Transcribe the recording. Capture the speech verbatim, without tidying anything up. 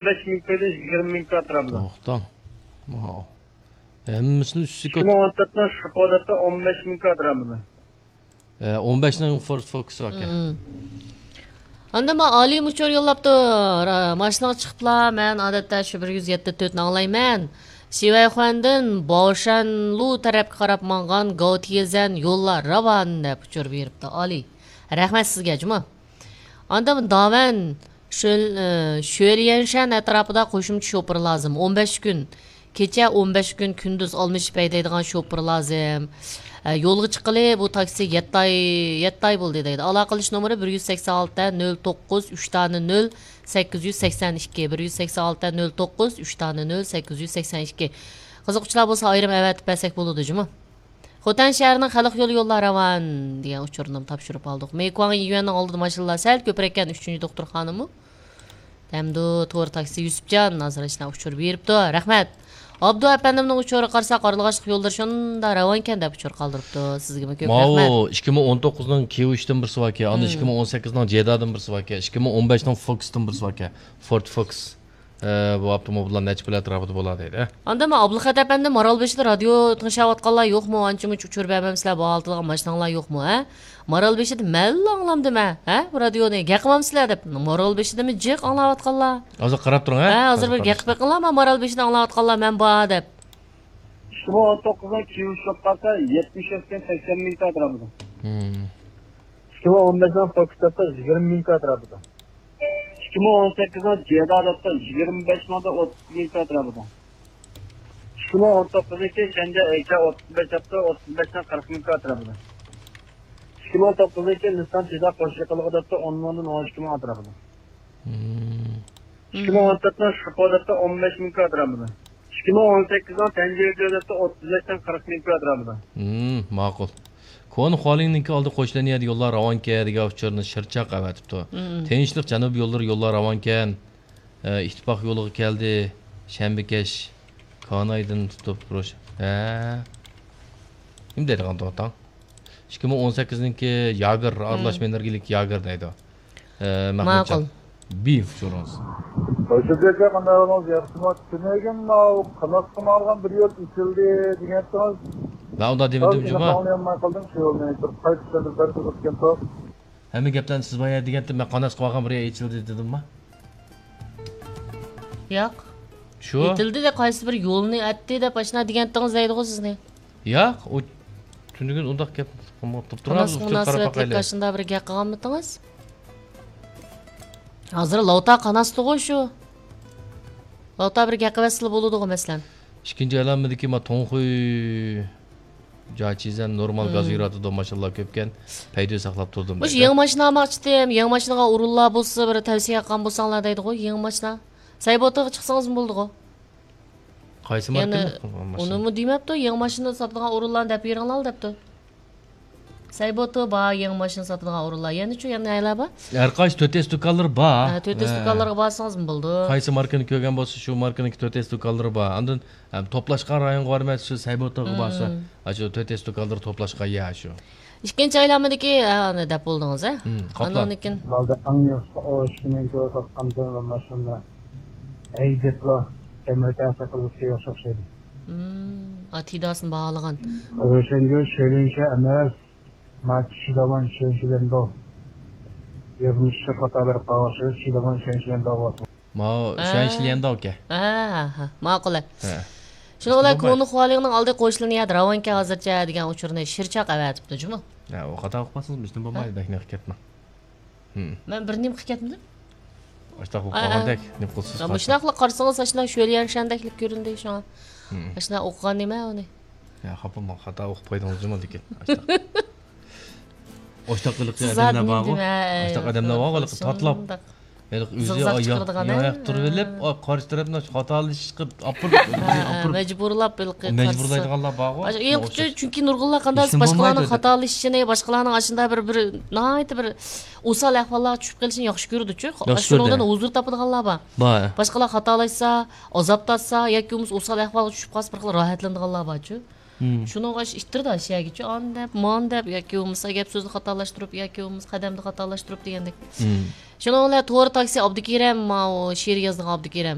بەش مىڭ كويدىن يىگىرمە مىڭ كوي ئەتراپىدا. توختاڭ. ھەممىسىنى ئۈستىگە ئىككى مىڭ ئون تۆتنىڭ شىپو دەپتۇ، ئون بەش مىڭ كوي ئەتراپىدا. ئە، ئون بەشنىڭ فورد فوكۇسى باركەن. ئاندىن مانا ئالىم ئۇچۇر يوللاپتۇ. را-، ماشىنىغا چىقىپلا، مەن ئادەتتە شۇ بىر يۈز يەتتە تۆتنى ئاڭلايمەن. شىۋەيخۇەندىن باۋشەنلۇ تەرەپكە قاراپ ماڭغان گاۋتىيېزەن يوللار راۋان دەپ ئۇچۇر بېرىپتۇ. ئالىي. رەھمەت سىزگە، جۇمۇ. ئاندىن داۋەن شۆل-، ئى، شۆليەنشەن ئەتراپىدا قوشۇمچە شوپۇر لازىم. ئون بەش كۈن كېچە، ئون بەش كۈن كۈندۈز ئالمىشىپ ھەيدەيدىغان شوپۇر لازىم. ئە، يولغا چىققىلى بۇ تاكسى يەتتە ئاي، يەتتە ئاي بولدى دەيدۇ. ئالاقىلىشىش نومۇرى بىر يۈز سەكسەن ئالتە، نۆل توققۇز، ئۈچ دانە نۆل، سەككىز يۈز سەكسەن ئىككى، بىر يۈز سەكسەن ئالتە، نۆل توققۇز، ئۈچ دانە نۆل، سەككىز يۈز سەكسەن ئىككى. قىزىققۇچىلار بولسا ئايرىم ئەۋەتىپ بەرسەك بولىدۇ جۇمۇ. خوتەن شەھىرىنىڭ خەلق يولى يوللار راۋان دېگەن ئۇچۇرنىمۇ تاپشۇرۇپ ئالدۇق. مېيكۇاڭ يۈەننىڭ ئالدىدا ماشىنىلار سەل كۆپرەككەن، ئۈچىنچى دوختۇرخانىمۇ. دەمدۇ تور تاكسى يۈسۈپجان ھازىر ئاشۇنداق ئۇچۇر بېرىپتۇ. رەھمەت. ئابدۇ ئەپەندىمنىڭ ئۇچۇرىغا قارىساق، ئارىلىغاچلىق يوللىرى شۇنداق راۋانكەن دەپ ئۇچۇر قالدۇرۇپتۇ. سىزگىمۇ كۆپ رەھمەت. ماۋۇ ئىككى مىڭ ئون توققۇزنىڭ كيۇ ئۈچتىن بىرسى باركەن، ئاندىن ئىككى مىڭ ئون سەككىزنىڭ جېدادىن بىرسى باركەن، ئىككى مىڭ ئون بەشنىڭ فوكستىن بىرسى باركەن، فورد فوكس. ئە، بۇ ئاپتوموبىللار نەچچە پۇل ئەتراپىدا بولار دەيدۇ، ھە؟ ئاندىن مەن ئابلىخەت ئەپەندىم مارالبېشىدا رادىيو تىڭشاۋاتقانلار يوقمۇ؟ ئانچە-مۇنچە ئۇچۇر بەرمەمسىلەر، بۇ ھالىتىدىغان ماشىناڭلار يوقمۇ، ھە؟ مارالبېشىدا مەنلا ئاڭلامدىمەن، ھە؟ بۇ رادىيونى گەپ قىلمامسىلەر دەپ، مارالبېشىدىمۇ جىق ئاڭلاۋاتقانلار. ھازىر قاراپ تۇرۇڭ، ھە؟ ھە، ھازىر بىر گەپ قىلىڭلار، مانا مارالبېشىدا ئاڭلاۋاتقانلار مەن بار دەپ. ئىككى مىڭ ئون توققۇزنىڭ كيۇ ئۈچ بولۇپ قالسا، يەتمىش يەتتىن سەكسەن مىڭ ئەتراپىدا. ئىككى مىڭ ئون بەشنىڭ فوكۇس دەپتۇ، يىگىرمە مىڭ ئەتراپىدا. ئىككى مىڭ ئون سەككىزنىڭ جېدا دەپتۇ، يىگىرمە بەش مىڭدىن ئوتتۇز مىڭ ئەتراپىدا. ئىككى مىڭ ئون توققۇزنىڭكى شەنجە ئەيچا ئوتتۇز بەش دەپتۇ، ئوتتۇز بەشتىن قىرىق مىڭ ئەتراپىدا. ئىككى مىڭ ئون توققۇزنىڭكى نىسسان تېزا قوش يېقىنلىقى دەپتۇ، ئون مىڭدىن ئون ئىككى مىڭ ئەتراپىدا. ئىككى مىڭ ئون تۆتنىڭ شىپو دەپتۇ، ئون بەش مىڭ ئەتراپىدا. ئىككى مىڭ ئون سەككىزنىڭ تەنجىۋىدە دەپتۇ، ئوتتۇز بەشتىن قىرىق مىڭ ئەتراپىدا. ماقۇل. كونا خۇالىڭنىڭكى ئالدى قوش لىنىيەدە يوللار راۋانكەن دېگەن ئۇچۇرنى شىرچاق ئەۋەتىپتۇ. تىنچلىق جەنۇبىي يوللىرى يوللار راۋانكەن. ئە، ئىتتىپاق يولىغا كەلدى. شەنبىكەش. كانايدىن تۇتۇپ روش-، ھە. نېمە دەيدىغان توختاڭ؟ ئىككى مىڭ ئون سەككىزنىڭكى ياگېر، ئارىلاشما ئېنېرگىيەلىك ياگېر دەيدۇ. ئە، مەھمۇتجان. ماقۇل. بى ئۇچۇرىڭىز. ھۆججەتكە قانداق ئەھۋالىڭىز؟ ياخشىمۇ؟ تۈنۈگۈن ماۋۇ قاناسقا ماڭغان بىر يول ئېچىلدى دېگەنتىڭىز. مەن ئۇنداق دېمىدىم جۇما. ئاڭلىيالماي قالدىم شۇ يولنى. بىر قايتا چۈشەندۈرۈپ بەرسىڭىز بولىدىكەن. ھەممە گەپلەرنى سىز بايا دېگەنتىم، مەن قاناسقا بارغان بىر يەر ئېچىلدى دېدىمما؟ ياق. شۇ؟ ئېتىلدى دەپ قايسى بىر يولنى ئەتتى دەپ ئاشۇنداق دېگەنتىڭىز دەيدىغۇ سىزنى. ياق، ئۇ تۈنۈگۈن ئۇنداق گەپ قىلماپتۇ. تۇرۇڭ، قاناسقا مۇناسىۋەتلىك ئاشۇنداق بىر گەپ قىلغانمىدىڭىز؟ ھازىر لاۋتا قاناستىغۇ شۇ. لاۋتا بىر گەپ قىلىۋەتسىلا بولىدىغۇ، مەسىلەن. ئىككىنچى ئەلەممىدىكى ما توڭخۇي جاچىزەن نورمال گاز يۈرۈۋاتىدۇ، ماشىنىلار كۆپكەن، پەيدە ساقلاپ تۇردۇم مۇشۇ دەيدۇ. يېڭى ماشىنا ئالماقچىدىم، يېڭى ماشىنىغا ئورۇنلار بولسا بىر تەۋسىيە قىلغان بولساڭلار دەيدىغۇ، يېڭى ماشىنا. سەيبوتىغا چىقسىڭىزمۇ بولىدىغۇ. قايسى ماركىنى؟ ئۇنىمۇ دېمەپتۇ، يېڭى ماشىنا ساتىدىغان ئورۇنلارنى دەپ بېرىڭلار دەپتۇ. سەيبوتى بار، يېڭى ماشىنا ساتىدىغان ئورۇنلار. يەنىچۇ، يەنە نەيلەر بار؟ ھەر قايسى تۆت ئەس دۇكانلىرى بار. ھە، تۆت ئەس دۇكانلىرىغا بارسىڭىزمۇ بولىدۇ. قايسى ماركىنى كۆرگەن بولسا، شۇ ماركىنىڭكى تۆت ئەس دۇكانلىرى بار. ئاندىن، ھەم، توپلاشقان رايونغا بارمايسىز، شۇ سەيبوتىغا بارسا، ئاشۇ تۆت ئەس دۇكانلىرى توپلاشقان يەر شۇ. ئىككىنچى ئايلانمىدىكى، ھە، ئۇنى دەپ بولدىڭىز، ھە؟ ئاندىن كېيىن ئالدى ئەڭ ياخشى ئوشۇقنى كۆرۈۋاتقان ماشىنا ھەيدەپلا ئەمەلىيەتتە قىلىشقا ياخشى ئوخشايدۇ. ئاتىداسىنى باھالىغان. روشەنگۈل شېرىنشە ئەمەس، ما چىشىداۋان شېرىنشىلەندو. يازمىشى خاتا بېرىپ قالغان شېرىنشىلەندو بولسۇن. ماۋۇ شۇەنشىليەنداۋكەن. ھە، ھە، ھە. ماقۇل. ھە. شۇنىڭ بىلەن كونا خۇالىڭنىڭ ئالدى قوشلىنىيە راۋانكە ھازىرچە دېگەن ئۇچۇرنى شىرچاق ئەۋەتىپتۇ جۇمۇ. ھە، ئۇ خاتا ئوقۇپ قالسىڭىز بىزدىن بولمايدۇ، بەك نېقىپ كەتمەڭ. مەن بىر نېمە قىلىپ كەتمىدىم. ئاشتاق بولۇپ قالغاندەك، نېمە قىلسىز؟ مۇشۇنداقلا قارىسىڭىز، ئاشۇنداق شۆليەنشەندەكلا كۆرۈندى شۇڭا. ئاشۇنداق ئوقۇغان نېمە ئۇنى؟ يا، خاپا بولماڭ، خاتا ئوقۇپ قويدىڭىز جۇمۇ لېكىن. ئاشتاق. ئاشتاق ھېلىقى ئادەملەر بارغۇ. ئاشتاق ئادەملەر بارغۇ، ھېلىقى تاتلاپ. ھېلىقى ئۆزى ياق تۇرۇپ ئېلىپ، قارشى تەرەپنى خاتالىشىشقا ئاپىرىپ، ئاپىرىپ مەجبۇرلاپ ھېلىقى مەجبۇرلايدىغانلار بارغۇ. چۈنكى نۇرغۇنلار قانداق باشقىلارنىڭ خاتالىشىشىنى، باشقىلارنىڭ ئاشۇنداق بىر، بىر ناھايىتى بىر ئوسال ئەھۋاللارغا چۈشۈپ قېلىشىنى ياخشى كۆرىدۇچۇ. شۇنىڭدىن ھۇزۇر تاپىدىغانلار بار. بار. باشقىلار خاتالاشسا، ئازاب تارتسا ياكى بولمىسا ئوسال ئەھۋالغا چۈشۈپ قالسا، بىر خىل راھەتلىنىدىغانلار بارچۇ. مم. شۇنىڭغا ئىتتىردى شەگىچە ئان دەپ، مان دەپ، ياكى بولمىسا گەپ سۆزنى خاتالاشتۇرۇپ، ياكى بولمىسا قەدەمنى خاتالاشتۇرۇپ دېگەندەك. مم. شۇنىڭ بىلەن تور تاكسى ئابدۇكېرەم، ماۋۇ شېئىر يازىدىغان ئابدۇكېرەم.